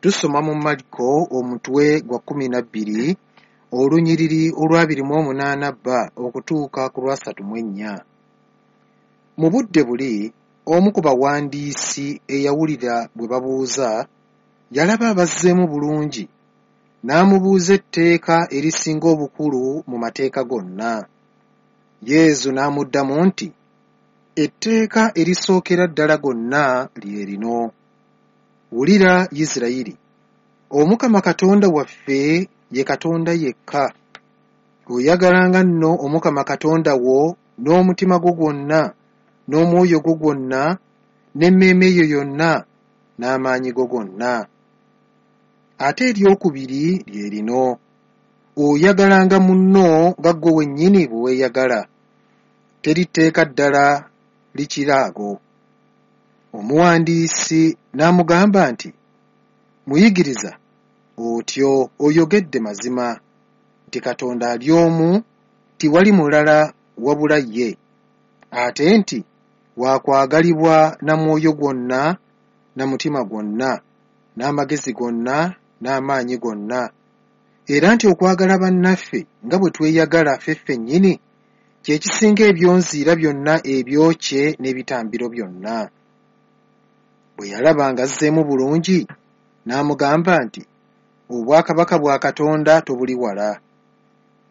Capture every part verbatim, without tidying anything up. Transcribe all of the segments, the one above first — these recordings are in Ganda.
Tusoma mu Mariko omutwe gwa kkumi na bbiri olunyiriri olw'abiri mu omunaana b okutuuka ku lwasatu mu ennya. Mu budde buli omu ku bawandiisi eyawulira bwe babuuza yalaba abazzeemu bulungi n'amubuuza etteeka erisinga obukulu mu mateeka gonna. Yesu n'amuddamu nti, etteeka erisookera ddala gonna lye lino. Wulira Isirayiri, Omukama Katonda waffe ye Katonda yekka. Oyagalanga nno Omukama Katonda wo n'omutima gwo gwonna, n'omwoyo gwo gwonna, n'emmeeme yo yonna, n'amaanyi go gonna. Ate eryokubiri lye lino, oyagalanga munno nga ggwe wennyini bwe weeyagala. Teri tteeka ddala likira ago. Omuwandiisi n'amugamba nti, Muyigiriza, otyo oyogedde mazima nti Katonda ali omu, tiwali mulala wabula ye, ate nti wakwagalibwa na mwoyo gwonna, na mutima gwonna, n'amagezi gonna, n'amaanyi gonna, era nti okwagala bannaffe nga bwe tweyagala ffe ffennyini kye kisinga ebyonziira byonna ebyokye n'ebitambiro byonna. Bwe yalaba ng'azzeemu bulungi, n'amugamba nti, obwakabaka bwa Katonda tobuli wala.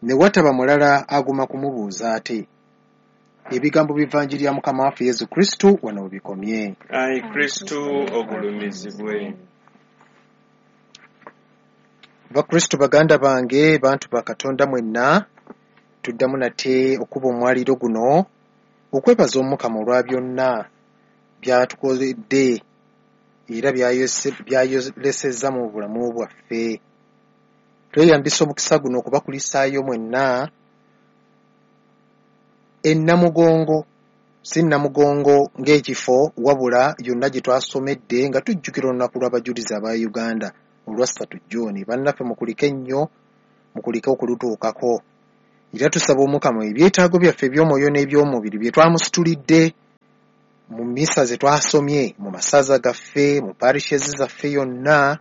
Ne wataba mulala aguma kumubuuza ate. Ebigambo by'Evanjiri ya Mukama waffe Yesu Kristo wano we bikomye. Ayi Kristo ogulumizibwe. Bakristo baganda bange, bantu ba Katonda mwenna, tuddamu nate okuba omwaliro guno okwebaza Omukama olwa byonna by'atukoledde era by'ayolesezza mu bulamu bwaffe. Tweyambisa omukisa guno okubakulisaayo mwenna e Namugongo, si Namugongo ng'ekifo wabula yonna gye twasomedde nga tujjukira olunaku lw'abajulizi aba Uganda olwa ssatu June. Bannaffe mukulike nnyo, mukulike okulutuukako. Era tusaba Omukama ebyetaago byaffe eby'omwoyo n'eby'omubiri bye twamusitulidde mu mmisa ze twasomye mu masaza gaffe, mu parishes zaffe yonna,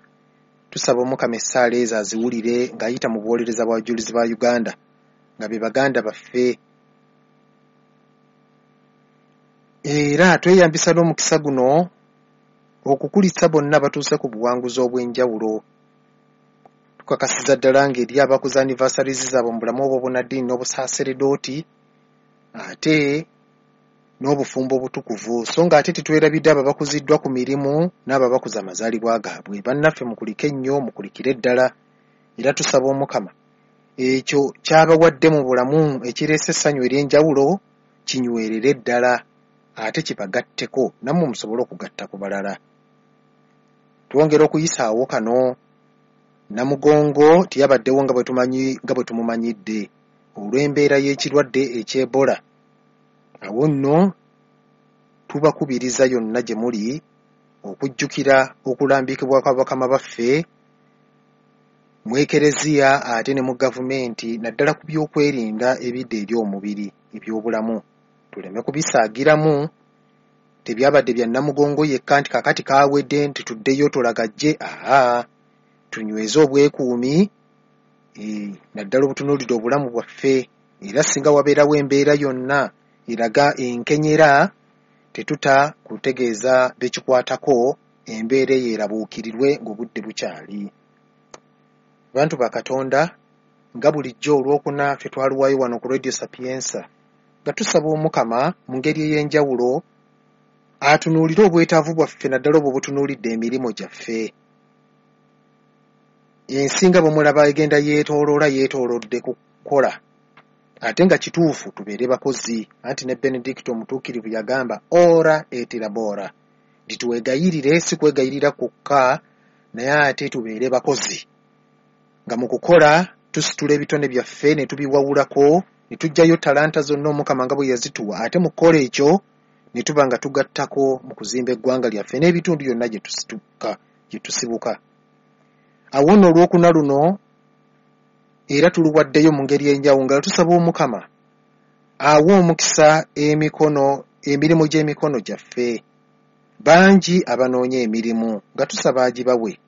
tusaba Omukama essaala ezo aziwulire ng'ayita mu buwolereza bw'abajulizi ba Uganda nga be baganda baffe. Era tweyambisa n'omukisa guno okukulisa bonna batuuse ku buwanguzi obw'enjawulo. Tukakasiza ddala ng'eri abakuza anniversaries zaabwe mu bulamu obw'obunnaddiini n'obusaaseredooti ate n'obufumbo obutukuvu, so ng'ate tetwerabidde abo abakuziddwa ku mirimu n'abo abakuza amazaalibwa gaabwe. Bannaffe mukulike nnyo, mukulikire ddala. Era tusaba Omukama ekyo ky'abawadde mu bulamu ekireese essanyu ery'enjawulo kinywerere ddala ate kibagatteko nammwe musobole okugatta ku balala. Twongera okuyisaawo kano. Namugongo teyabaddewo nga bwe tumanyi nga bwe tumumanyidde olw'embeera y'ekirwadde eky'Ebola. Awo nno tubakubiriza yonna gye muli okujjukira okulambikibwa kwa bakama baffe mu Ekereziya ate ne mu gavumenti naddala ku by'okwerinda ebidda eri omubiri eby'obulamu. Tuleme kubisaagiramu. Tebyabadde bya Namugongo yekka nti kaakati kaawedde nti tuddeyo tolagajje. Aa, tunyweze obwekuumi e, naddala obutunuulidde obulamu bwaffe. Era singa wabeerawo embeera yonna eraga enkenyera, tetuta kutegeeza bekikwatako, embeera eyo erabuukirirwe ng'obudde bukyali. Bantu ba Katonda, nga bulijjo olwokuna ffe twaluwayo wano ku Radio Sapienza nga tusaba Omukama mu ngeri ey'enjawulo atunuulire obwetaavu bwaffe naddala obwo obutunuulidde emirimu gyaffe. Ensi nga bwe mulaba egenda yeetooloola yeetoolodde kukola, ate nga kituufu tubeere bakozi. Anti ne Benedicto omutuukirivu yagamba ora et labora, nti twegayirire, si kwegayirira kwokka naye ate tubeere bakozi, nga mu kukola tusitula ebitone byaffe ne tubiwawulako ne tuggyayo talanta zonna Omukama nga bwe yazituwa, ate mu kukola ekyo ne tuba nga tugattako mu kuzimba eggwanga lyaffe n'ebitundu byonna gye tusituka gye tusibuka. Awo nno olwokuna luno era tuluwaddeyo mu ngeri enjawulo nga tusaba Omukama awe omukisa emikono emirimu gy'emikono gyaffe Bangi abanoonya emirimu nga tusaba agibawe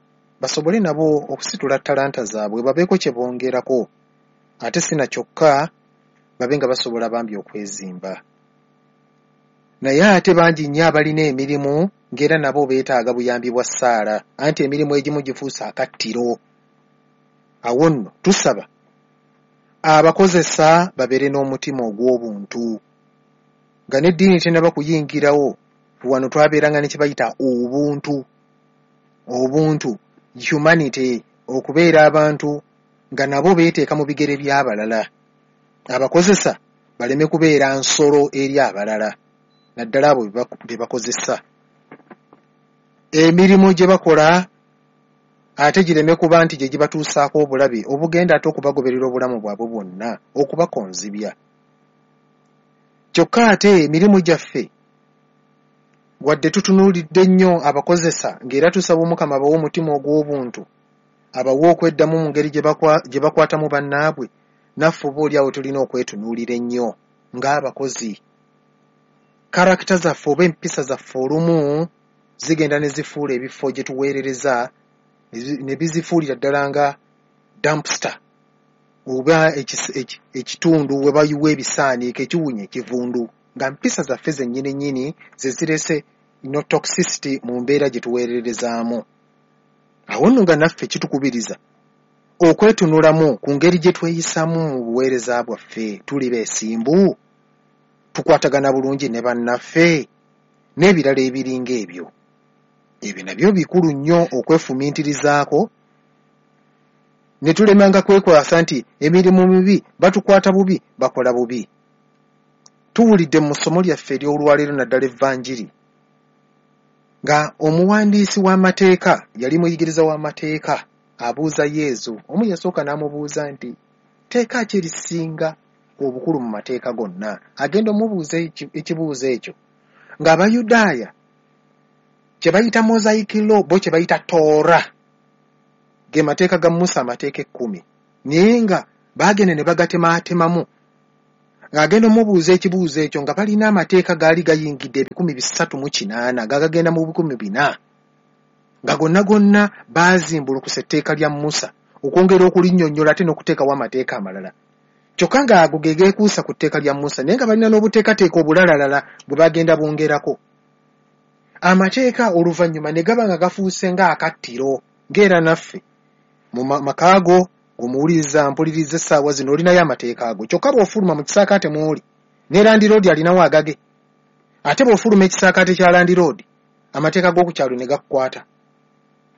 basobole nabo okusitula ttalanta zaabwe babeeko kye bongerako, ate si na kyokka babe nga basobola bambi okwezimba. Naye ate bangi nnyo abalina emirimu ng'era nabo beetaaga buyambi bwa ssaala, anti emirimu egimu gifuuse akattiro. Awo nno tusaba abakozesa babeere n'omutima ogw'obuntu, nga n'eddiini tennaba kuyingirawo. Wano twabeeranga ne kye bayita obuntu, obuntu humanity, okubeera abantu nga nabo beeteeka mu bigere by'abalala. Abakozesa baleme kubeera nsolo eri abalala, naddala abo be bakozesa. Emirimu gye bakola ate gireme kuba nti gye gibatuusaako obulabe obugenda ate okubagoberera obulamu bwabwe bwonna, okubakonzibya. Kyokka ate emirimu gyaffe wadde tutunuulidde nnyo abakozesa, ng'era tusaba Omukama abawe omutima ogw'obuntu, abawe okweddamu mu ngeri gye bakwatamu bannaabwe, naffe oba oli awo tulina okwetunuulira ennyo ng'abakozi. Karakita zaffe oba empisa zaffe olumu zigenda ne zifuula ebifo gye tuweerereza ne bizifuulira ddala nga dumpster oba ekitundu we bayiwa ebisaaniiko ekiwunya ekivundu, nga mpisa zaffe zennyini nnyini ze zirese no toxicity mu mbeera gye tuweererezaamu. Awo nno nga naffe kitukubiriza okwetunulamu ku ngeri gye tweyisaamu mu buweereza bwaffe. Tuli beesimbu, tukwatagana bulungi ne bannaffe n'ebirala ebiringa ebyo. Ebyo nabyo bikulu nnyo okwefumiitirizaako, ne tulemanga kwekwasa nti emirimu mibi, batukwata bubi, bakola bubi. Tuwulidde mu ssomo lyaffe ery'olwaleero naddala Evanjiri nga omuwandiisi w'amateeka yali muyigiriza w'amateeka abuuza Yezu. Omu yasooka n'amubuuza nti tteeka ki erisinga obukulu mu mateeka gonna? Agenda omubuuza ekibuuzo ekyo ng'Abayudaaya kye bayita Mosaic Law, bo kye bayita Torah, ge mateeka ga Musa, amateeka ekkumi, naye nga baagenda ne bagatematemamu. Ng'agenda omubuuza ekibuuzo ekyo nga balina amateeka gaali gayingidde ebikumi bisatu mu kinaana gagagenda mu bikumi bina, nga gonna gonna baazimbulukusa etteeka lya Musa okwongera okulinnyonnyola ate n'okuteekawo amateeka amalala. Kyokka ng'ago ge geekuusa ku tteeka lya Musa, naye nga balina n'obuteekateeka obulalalala bwe bagenda bongerako. Amateeka oluvannyuma ne gaba nga gafuuse ng'akattiro, ng'era naffe mu maka go ng'omuwuliriza mpuliriza essaawa zino olinayo amateeka ago. Kyokka bw'ofuluma mu kisaakaate mw'oli ne landiroodi alinawo agage, ate bw'ofuluma ekisaakaate kya landiroodi amateeka g'oku kyalo ne gakukwata,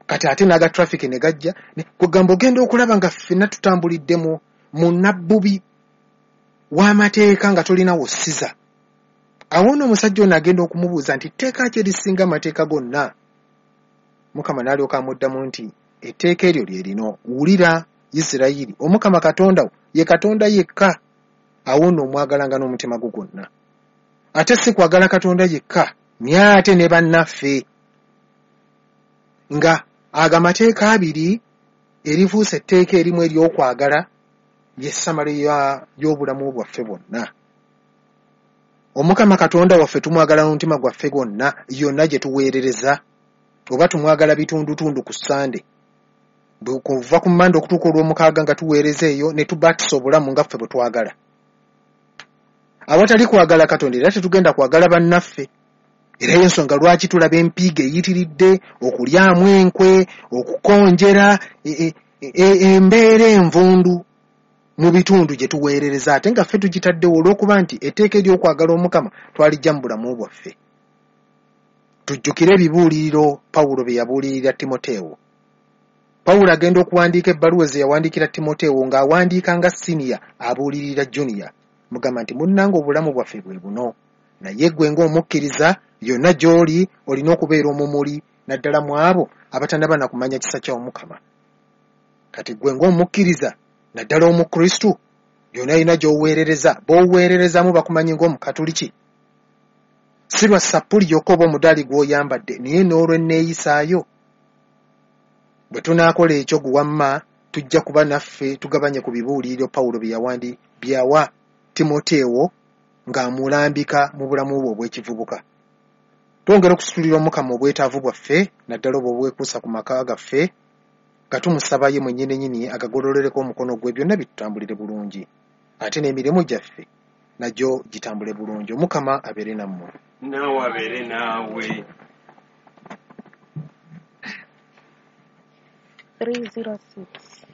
kati ate n'aga traffic ne gajja. Kugamba ogenda okulaba nga ffenna tutambulidde mu mu nabbubi w'amateeka nga tolinawo ssiza. Awo nno omusajja ono agenda okumubuuza nti tteeka ki erisinga amateeka gonna? Mukama n'alyoka amuddamu nti etteeka eryo lye lino, wulira Isirayiri, Omukama Katonda wo ye Katonda yekka. Awo nno omwagalanga n'omutima gwo gwonna, ate si kwagala Katonda yekka naye ate ne bannaffe. Nga ago amateeka abiri erifuuse etteeka erimu ery'okwagala ye ssamalo y'obulamu bwaffe bwonna. Omukama Katonda waffe tumwagala n'omutima gwaffe gwonna yonna gye tuweerereza, oba tumwagala bitundutundu ku Ssande kuva ku Mmande okutuuka olw'omukaaga nga tuweereza eyo ne tubatisa obulamu nga ffe bwe twagala. Awatali kwagala Katonda era tetugenda kwagala bannaffe. Era y'ensonga lwaki tulaba empiiga eyitiridde, okulyamu enkwe, okukonjera, embeera envundu mu bitundu gye tuweerereza, ate nga ffe tugitaddewo olw'okuba nti etteeka ery'okwagala Omukama twalijja mu bulamu bwaffe. Tujjukire ebibuuliriro Pawulo bye yabuulirira Timoteewo. Pawulo agenda okuwandiika ebbaluwa ze yawandiikira Timoteewo ng'awandiika nga siniya abuulirira juniya, mugamba nti munnange obulamu bwaffe bwe buno, naye ggwe ng'omukkiriza yonna gy'oli olina okubeera omumuli, naddala mu abo abatannaba na kumanya kisa kya Omukama. Kati ggwe ng'omukkiriza naddala Omukristu yonna yina gy'oweerereza, b'oweererezamu bakumanyi ng'Omukatuliki, si lwa sappuli yokka oba omudaali gw'oyambadde, naye n'olw'enneeyisaayo. Bwe tunaakola ekyo guwamma tujja kuba naffe tugabanye ku bibuuliriro Pawulo bye yawandi byawa Timoteewo ng'amulambika mu bulamu bwe obw'ekivubuka. Twongera okusitulira Omukama obwetaavu bwaffe, naddala obwo obwekuusa ku maka gaffe, nga tumusaba ye mwennyininyini agagololereko omukono gwe, byonna bitutambulire bulungi, ate n'emirimu gyaffe nagyo gitambule bulungi. Omukama abeere nammwe. Naawe abeere naawe. Three zero six.